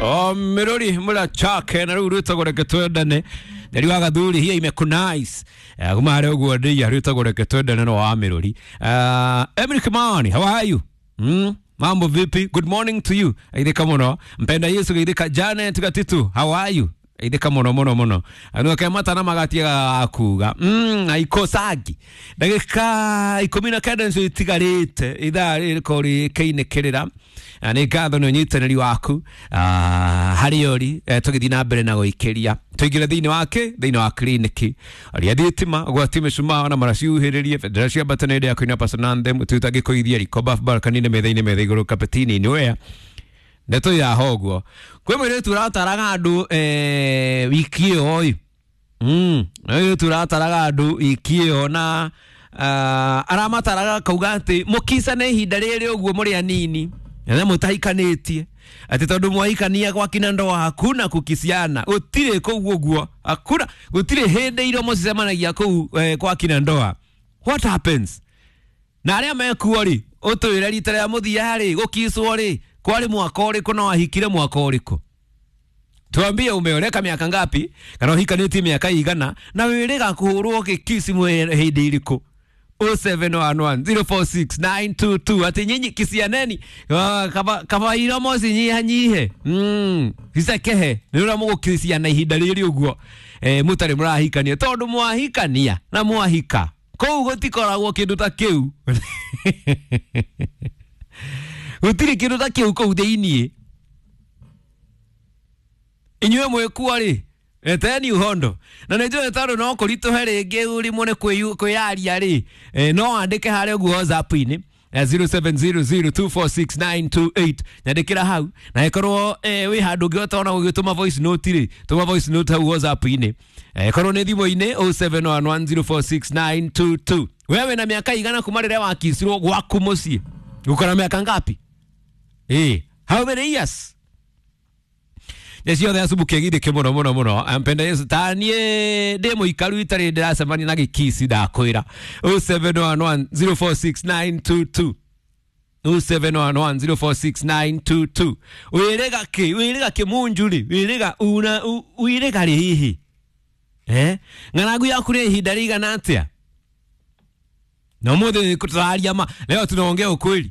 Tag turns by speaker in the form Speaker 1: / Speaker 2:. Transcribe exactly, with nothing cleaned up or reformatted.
Speaker 1: O mirori mura chake na rĩu rwĩtagwo Reke Twendane. Nderi wa gathuri hiya imekunice. Eh, kuma harĩa ũguo ndĩia rwĩtagwo Reke Twendane no wa mirori. Uh, Emily Kimani, how are you? Mm? Mambo vipi? Good morning to you. Aithika muno. Mpenda Yesu geithika. Janet Gatitu, how are you? Aithika muno muno muno. Anu ke matana magatiga kuga. Mm, aikosagi. Ndagika ikumi na kenda nicio itigarite ithaa rĩrĩko rĩkĩinĩkĩrĩra. Na nĩ ngatho nĩ ũnyitanĩri waku ah, harĩa ũri eh, tũgĩthiĩ na mbere na gũikĩria tũingĩre thĩinĩ wake thĩinĩ wa kiriniki aria thitima gwati mĩcumaa na maraciuhĩrĩrie bendera cia mbatana ya kũina pasonanthem tutangĩkũithia riko bafu barakanine metha-inĩ metha igũrũ kapetini-inĩ wea ndeto ya hoguo kwĩ mũirĩtu ũrataraga andũ eh, wiki ĩyo ĩ mm mũirĩtu ũrataraga andũ wiki ĩyo na uh, aramataraga kauga atĩ mũkicane ihinda rĩrĩ ũguo mũrĩ anini na mũtahikanĩtie atĩ tondũ mwahikania gwakina ndoa hakuna kukisiana gũtirĩ kũu ũguo hakuna gũtirĩ hĩndĩ iromo cicemanagia kũu eh, gwakina ndoa. What happens na arĩa mekuo rĩ ũtwĩre rita rĩa mũthia rĩ gũkicwo rĩ kwarĩ mwaka ũrĩkũ na wahikire mwaka ũrĩkũ. Tuambie umeoleka miaka ngapi kana ũhikanĩtie mĩaka igana na wĩrĩga kũhũrwo gĩkisi hĩndĩ ĩrĩkũ. oh seven one one zero four six nine two two ati nyinyi kisianeni kaba kaba iromo cinyihanyihe mm icekehe nĩ ũrĩa mũgũkisiana ihinda rĩrĩ ũguo eh mũtarĩ mũrahikania tondũ mwahikania na mwahika kũu gũtikoragwo kĩndũ ta kĩu gũtirĩ kĩndũ ta kĩu kũu thĩiniĩ inyuĩ mwĩkuo rĩ eteni uhondo na nĩ njũĩ tondũ no kũritũhe rĩngĩ ũrimũ nĩ kwĩyaria rĩ eh, no wandĩke harĩa ũguo WhatsApp-inĩ zero seven zero zero two four six nine two eight nyandĩkĩra hau na ĩkorwo eh, wĩ handũ ũngĩhota ona gũgĩtũma voice note rĩ tũma voice note hau WhatsApp-inĩ ĩkorwo nĩ thimũ-inĩ oh seven one one zero four six nine two two. Wewe na miaka igana kuma rĩrĩa wakicirwo gwaku mũciĩ uko na miaka ngapi? Eh, how many years? Ciothe acumbuke githike muno muno muno ampenda Yesu ta niĩ ndĩ mũikaru itarĩ ndĩracemania na gĩkici ndakwĩra oh seven one one zero four six nine two two oh seven one one zero four six nine two two wĩrĩga kĩ wĩrĩga kĩmunju rĩ wĩrĩga una wĩrĩga rĩ hihi eh ng'aragu yaku nĩ ihinda rĩigana atĩa na ũmũthĩ tũraria ma leo tunaongea ukweli.